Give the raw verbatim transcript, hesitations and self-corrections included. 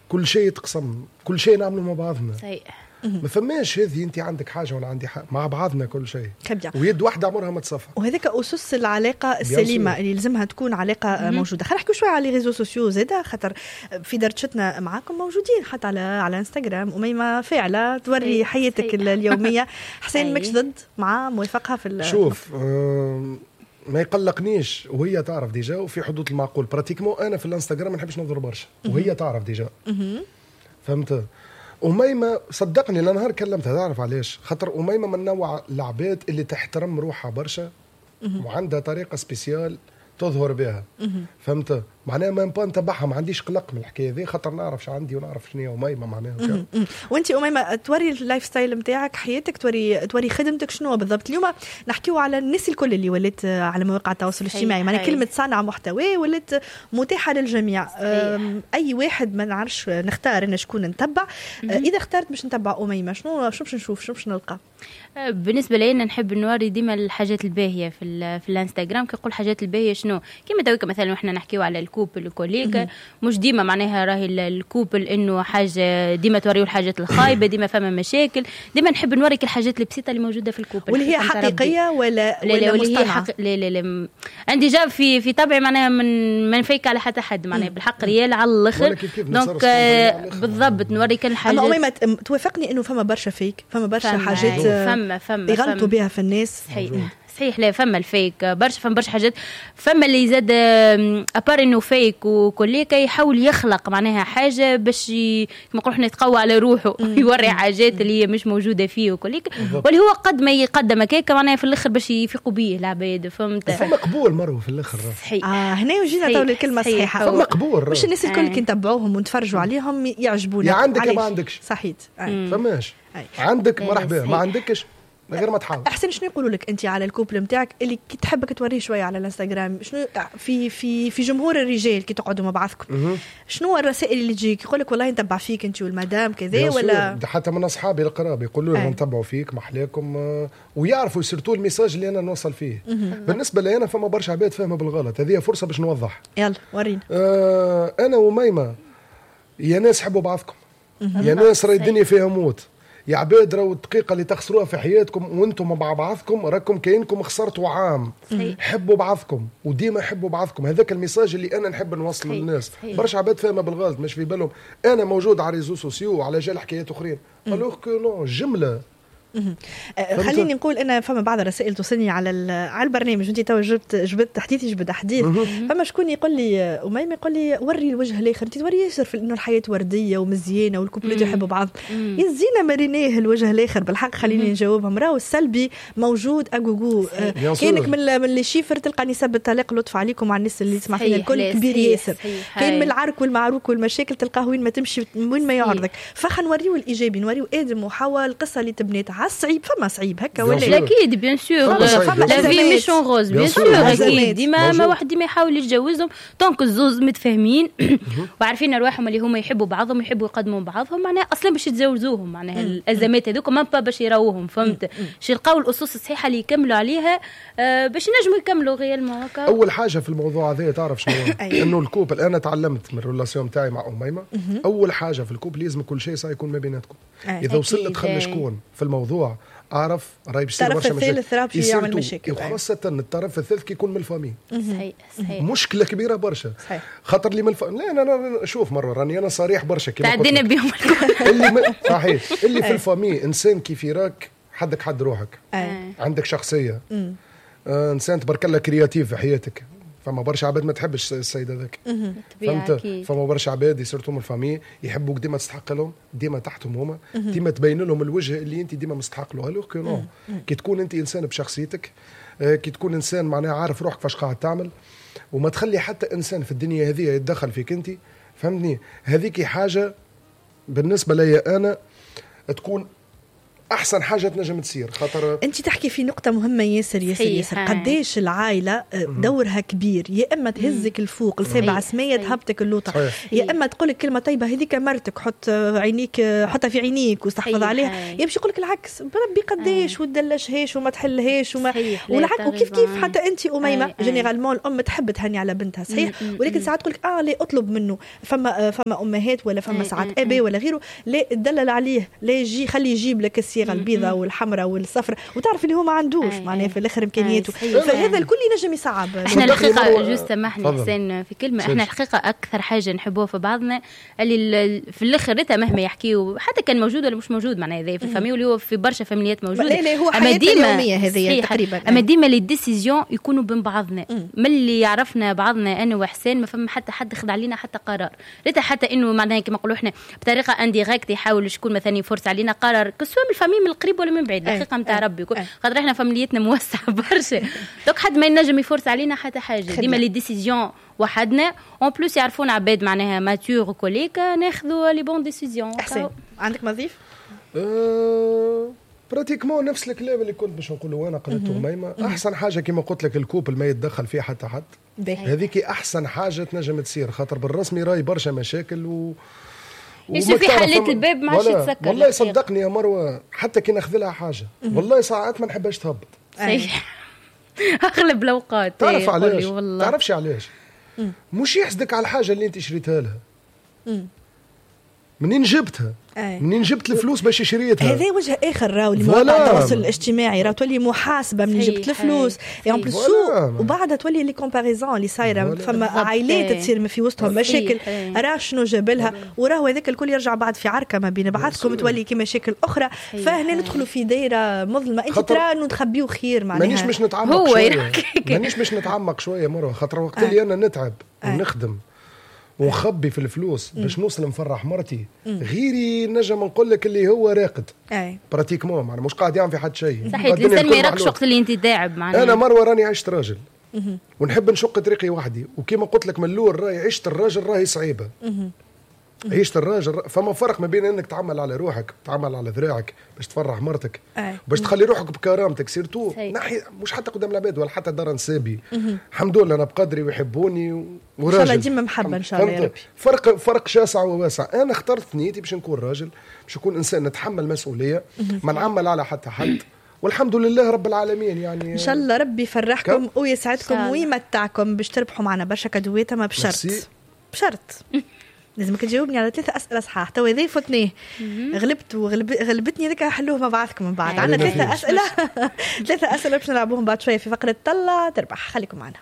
كل شيء يتقسم، كل شيء نعمله مع بعضنا. صحيح. ما فماش هذه انت عندك حاجة وانا عندي حاجه، مع بعضنا كل شيء. كبير. ويد واحدة عمرها ما تصفى. وهذاك اسس العلاقة السليمة اللي لازمها تكون علاقة موجودة. خلينا نحكي شوية على les réseaux sociaux زاده، خاطر في دردشتنا معاكم موجودين حتى على على انستغرام. اميمة فاعله توري حياتك اليوميه. حسين ماكش ضد، مع، موافقها في؟ شوف، آه ما يقلقنيش، وهي تعرف déjà، وفي حدود المعقول. pratiquement انا في الانستغرام ما نحبش نظهر برشا، وهي تعرف déjà، فهمت؟ أميمة صدقني لا نهار كلمتها. تعرف علاش؟ خاطر أميمة من نوع العباد اللي تحترم روحها برشا وعندها طريقة spéciale تظهر بها، فهمت؟ معناها même pas نتبعها، ما عنديش قلق من الحكاية ذي، خاطر نعرف شو عندي ونعرف شنو هي اميمة معناها. وانت اميمة توري ال lifestyle نتاعك، حياتك، توري توري خدمتك، شنو بالضبط؟ اليوم نحكيو على الناس الكل اللي ولات على مواقع التواصل الاجتماعي، معناها كلمة صانع محتوى ولات متاحة للجميع. اي واحد، ما نعرفش نختار انا شكون نتبع. اذا اخترت باش نتبع اميمه، شنو شنو باش نشوف؟ شنو باش نلقى؟ بالنسبة لي نحب نوري ديما الحاجات الباهيه في في الانستغرام. كي نقول الحاجات الباهيه شنو؟ كيما تويك مثلا احنا نحكيو على ال couple الكوليك، مش ديما معناها راهي ال couple انه حاجة ديما توريو الحاجات الخايبه، ديما فما مشاكل. ديما نحب نوريك الحاجات البسيطة اللي موجودة في ال couple. واللي هي حقيقية ولا لا ولا لا هي حق... لا لا لا، عندي déjà في في طبعي معناها من ما نفيك على حتى حد، معناها بالحق réel على الاخر. donc بالضبط نوريك الحاجات. اما أميمة توافقني انه فما برشا fake، فما برشا حاجات فما فما يغلطوا بها في الناس؟ صحيح صحيح، لا فما ال fake برشا، فما برشا حاجات. فما اللي زاد à part انه fake وكليكا يحاول يخلق معناها حاجة باش كما نقولوا احنا يتقوى على روحه، يوري حاجات اللي هي مش موجودة فيه وكليك، واللي هو قد ما يقدم هكاك معناها في الاخر باش يفيقوا به العباد، فهمت؟ فما قبول مروه في الاخر. صحيح. اه هنا وجينا تو الكلمة الصحيحه. فما قبول. مش الناس الكل كي نتبعوهم ونتفرجوا عليهم يعجبونا. يا عندك يا ما عندكش. صحيت. فماش عندك مرحبا، ما عندكش من غير ما تحاول. احسن، شنو يقولوا لك انت على ال couple نتاعك اللي كي تحبك توريه شوية على الانستغرام؟ شنو في في في جمهور الرجال كي تقعدوا مع بعضكم، شنو الرسائل اللي تجيك؟ يقول لك والله نتبع فيك انت والمدام كذا ولا؟ حتى من اصحابي القراب يقولوا لي نتبعوا فيك، محلاكم، ويعرفوا surtout ال message اللي انا نوصل فيه. بالنسبة لي انا فما برشا عباد فاهمه بالغلط، هذه فرصة باش نوضح. يلا ورينا. آه انا وميمه، يا ناس حبوا بعضكم، يا ناس راهي الدنيا فيها موت، يا عباد راهو الدقيقة اللي تخسروها في حياتكم وانتم مع بعضكم راكم كاينكم خسرتوا عام. حبوا بعضكم وديما حبوا بعضكم. هذاك ال message اللي انا نحب نوصله للناس. برشا عباد فاهمه بالغلط، مش في بالهم انا موجود على réseaux sociaux على جال حكايات اخرين، alors que non جمله. أه، خليني نقول ان فما بعض الرسائل توصلني على على البرنامج، انت تو جبت جبت حديث جبد حديث. فما شكون يقول لي اميمه، يقول لي وري الوجه الاخر، انت توري ياسر في انه الحياة وردية ومزيانه وال couple ات يحبوا بعض، يزينا مريناه الوجه الاخر. بالحق خليني نجاوبهم، راهو السلبي موجود à gogo. أه، كانك من من les chiffres تلقى نسب الطلاق، لطف عليكم على الناس اللي تسمع فينا الكل، كبير ياسر. كاين من العرك والمعروك والمشاكل تلقاه وين ما تمشي وين ما يعرضك. فخا نوريو الايجابي، نوريو ادم وحواء، القصة اللي تبنيت على الصعيب. فما صعيب هكا ولا؟ اكيد bien sûr، la vie مش en rose، bien sûr اكيد. ديما ما واحد ديما يحاول يتجوزهم tant que الزوز متفاهمين وعارفين ارواحهم اللي هما يحبوا بعضهم ويحبوا يقدموا بعضهم، معناها اصلا باش يتجوزوهم معناها الازمات هذوك même pas باش يراوهم، فهمت؟ باش يلقاو الاسس الصحيحة اللي يكملوا عليها آه، باش ينجموا يكملوا réellement هكا. اول حاجة في الموضوع هذا تعرف شنو؟ انه ال couple، انا تعلمت من ال relation تاعي مع اميمه، اول حاجة في ال couple لازم كل شيء يكون ما بيناتكم. اذا وصل دخل شكون في الموضوع اعرف راهي باش يصير برشا مشاكل. الطرف الثالث راه يعمل مشاكل. وخاصة الطرف الثالث كي يكون من ال famille. صحيح صحيح. مشكلة كبيرة برشا. صحيح. خاطر اللي من الف... لا انا شوف مرة راني انا صريح برشا. كيما تعدينا بهم. اللي من... صحيح، اللي في ال famille انسان كيف يراك حدك حد روحك، عندك شخصيه، آه انسان تبارك الله créatif في حياتك. فما برشا عباد ما تحبش السيد هذاك، فهمت؟ فما برشا عباد surtout من ال famille يحبوك ديما تستحق لهم، ديما تحتهم هما، ديما تبين لهم الوجه اللي انت ديما مستحق له، alors que non. كي تكون انت انسان بشخصيتك، آه، كي تكون انسان معناها عارف روحك فاش قاعد تعمل، وما تخلي حتى انسان في الدنيا هذه يتدخل فيك انت، فهمتني؟ هذيك حاجة بالنسبة لي انا تكون احسن حاجة تنجم تصير. خاطر انت تحكي في نقطة مهمة ياسر ياسر ياسر، قداش العائلة دورها كبير، يا اما تهزك الفوق لسبع سميه تهبطك اللوطه، يا اما تقول لك كلمة طيبة هذيك مرتك حط عينيك حطها في عينيك واستحفظ عليها، يا باش يقول لك العكس بربي قداش وتدلشهاش وما تحلهاش وما والعكس. وكيف كيف حتى انت اميمة généralement الام تحب تهني على بنتها صحيح، ولكن ساعات تقول لك اه لا اطلب منه، فما فما امهات ولا فما ساعات ابي ولا غيره لا تدلل عليه، لا يجي خليه يجيب لك الصيغة البيضاء والحمراء والصفراء وتعرف اللي هو ما عندوش معناها في الاخر امكانياته، فهذا الكل ينجم يصعب. احنا الحقيقة juste سامحني حسين في كلمة، احنا الحقيقة اكثر حاجة نحبوها في بعضنا اللي في الاخر ريتا مهما يحكيو حتى كان موجود ولا مش موجود معناها هذا في ال famille واللي هو في برشا فاميليات موجود، لا لا هو حياتنا اليومية هذه تقريبا، اما ديما les décisions يكونوا بين بعضنا، من اللي يعرفنا بعضنا انا وحسين ما فما حتى حد خذ علينا حتى قرار، ريتا حتى انه معناها كما نقولوا احنا بطريقة indirecte يحاول شكون مثلا يفرس علينا قرار que ce soit من ال famille من القريب ولا من بعيد، الحقيقة نتاع ربي خاطر احنا فاميليتنا موسعه برشا donc حد ما ينجم يفرس علينا حتى حاجة، ديما les décisions وحدنا، en plus يعرفون عباد معناها matures وكوليك ناخذوا les bonnes décisions. احسن عندك مضيف؟ أه pratiquement نفس الكلام اللي كنت باش نقوله انا قلته ميمه. احسن حاجة كما قلت لك ال couple ما يتدخل فيه حتى حد، هذيك احسن حاجة تنجم تصير، خاطر بالرسمي راي برشا مشاكل و في حليت الباب ما عادش يتسكر. والله صدقني يا مروه حتى كي ناخذ لها حاجة والله ساعات ما نحبهاش تهبط. صحيح اغلب الاوقات. تعرف علاش؟ تعرفش علاش؟ مش يحسدك على الحاجة اللي انت شريتها لها. منين جبتها؟ أي. منين جبت الفلوس باش شريتها؟ هذا وجه اخر راهو لمواقع التواصل الاجتماعي، راهو تولي محاسبه منين جبت الفلوس en plus، وبعدها تولي les comparaisons اللي صايرة، فما عائلات تصير في وسطهم مشاكل راه شنو جاب لها، وراهو هذاك الكل يرجع بعد في عركة ما بين بعضكم، تولي كي مشاكل اخرى، فهنا ندخلوا في دايرة مظلمة. انت ترى انه نخبيو خير معناها. مانيش باش نتعمق شوية، مانيش باش نتعمق شوية مروه، خاطر وقت اللي انا نتعب ونخدم ونخبي في الفلوس باش نوصل نفرح مرتي، غيري نجم نقول لك اللي هو راقد pratiquement، معناها مش قاعد يعمل في حد شيء. صحيح الانسان ما يراكش وقت اللي انت داعب معناها. انا مروه راني عشت راجل ونحب نشق طريقي وحدي، وكما قلت لك من الاول راهي عشت الراجل راهي صعيبة. عيشت الراجل فما فرق ما بين انك تعمل على روحك، تعمل على ذراعك باش تفرح مرتك، باش تخلي روحك بكرامتك surtout نحي مش حتى قدام العباد ولا حتى دار نسابي. الحمد لله انا بقدري ويحبوني وراجل. ان شاء الله ديما محبة ان شاء الله يا ربي. فرق فرق شاسع وواسع. انا اخترت نيتي باش نكون راجل، باش نكون انسان نتحمل مسؤولية، ما نعمل على حتى حد، والحمد لله رب العالمين. يعني ان شاء الله ربي يفرحكم ويسعدكم ويمتعكم باش تربحوا معنا برشا كادوات، ما بشرط بشرط لازمك تجاوبني على ثلاثة أسئلة صحاح. تو هذا فتنيه غلبت وغلب غلبتني هذاك حلوة مع بعضكم من بعد. عندنا ثلاثة أسئلة ثلاثة أسئلة باش نلعبوهم بعد شوية في فقرة طلع تربح. خليكم معنا.